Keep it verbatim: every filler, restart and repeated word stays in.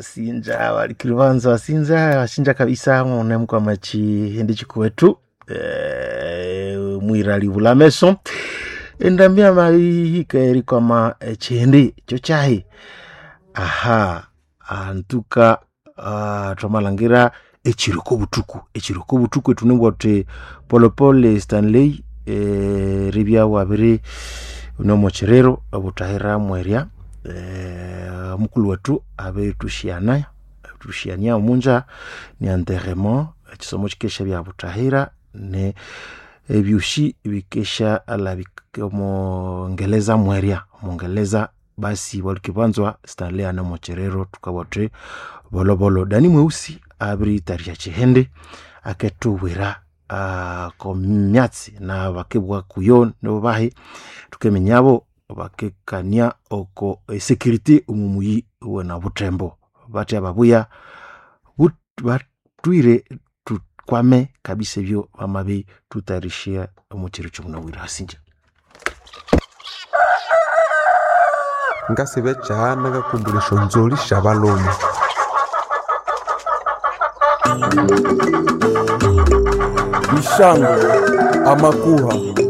Wasinja walikiribanza wasinja wasinja kabisa munemkwama chihindi chikuwetu eh, mwirali bulameso endambia mahika erikwama echihindi cho chahi aha antuka uh, twamalhangira ekiriko obutuku ekiriko obutuku etunebwa thuthi polepole Stanley eh, ribya wabiri nomokyiriro obutahira mwerya eh, mukulhu wethu abiritushyana tushyania omunja ni enterrement ekisomo kikesha byabutahira ne ebyoshi bikesha alabika omongeleza mwerya omongeleza basi bwalukibanzwa Stanley ane mokyiriro tukabwa thuthi bolobolo Dani Mweusi abiritarisha kihindi aketubwira uh, komyatsi na bakebwa kuyo nibo bahi tukeminyabo bakekania oko esecurity omu muyi wena Butembo batya babuya but- batwire tukwame kabisa ebyo bamabi tutarishia omu kiro kyomunabwire hasinja Ngasiba ekyahana ngakumbura esyonzolhi syabalhume. Ishango, amakuha.